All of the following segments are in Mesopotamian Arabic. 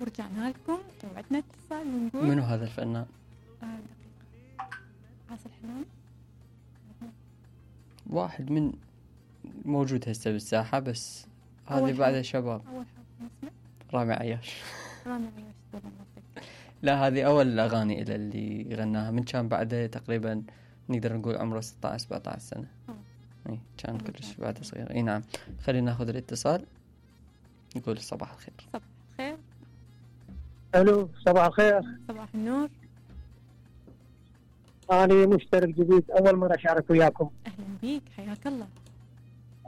ورجعنا لكم وعدنا اتصال ونقول منو هذا الفنان؟ دقيقة. عاصي الحلواني. واحد من موجود هسه بالساحة، بس هذه أول بعد حرف. شباب. أول حرف اسمه رامي عياش. رامي عياش. والله ما أتذكر. لا، هذه أول الأغاني إلى اللي غناها، من كان بعده تقريبا نقدر نقول عمره 16 17 سنة. اي كان كلش بعده صغير. اي نعم. خلينا ناخذ الاتصال، نقول صباح الخير. صباح الخير. الو صباح الخير. صباح النور. أنا مشترك جديد، أول مرة أشارك وياكم. أهلا بيك، حياك الله.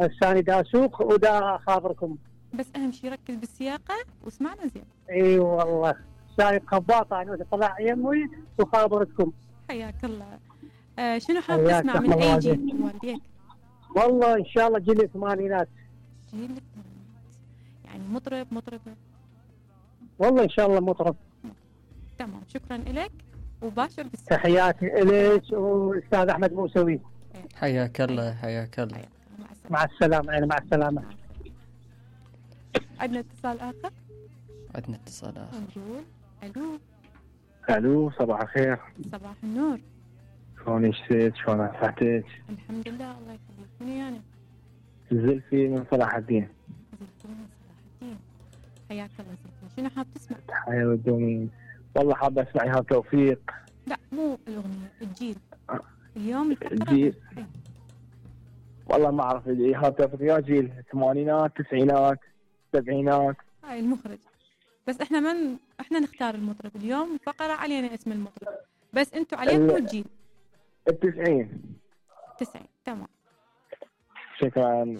الثاني دا أسوق ودا أخابركم. بس أهم شي ركز بالسياقة واسمعنا زين. اي والله سايق خباطة أنا طلع يمي وخابرتكم. حياك الله. شنو حاب تسمع من أي جيل والديك؟ والله إن شاء الله جيل الثمانينات. جيل الثمانينات، يعني مطربة. والله إن شاء الله مطرب. تمام، شكرا لك وباشر بالسياقة. تحياتي إليك والأستاذ أحمد موسوي. حياك الله حياك الله. مع السلامة. يعني مع السلامة. عندنا اتصال آخر. نقول ألو. الو صباح الخير. صباح النور. شلونك ست؟ شلون صحتك؟ الحمد لله الله يخليك. منو يعني؟ زلفي من صلاح الدين. زلفي من صلاح الدين. حياك الله زلفي، شنو حاب تسمع؟ تحية والدومين. والله حاب اسمع ايهاب توفيق. لا مو الأغنية، الجيل. اليوم الجيل. والله ما اعرف ايهاب توفيق يا جيل الثمانينات التسعينات السبعينات. هاي المخرج. بس احنا نختار المطرب اليوم، فقرة علينا اسم المطرب، بس انتوا عليكم الجيل. التسعين. 90. تمام. شكرا لك.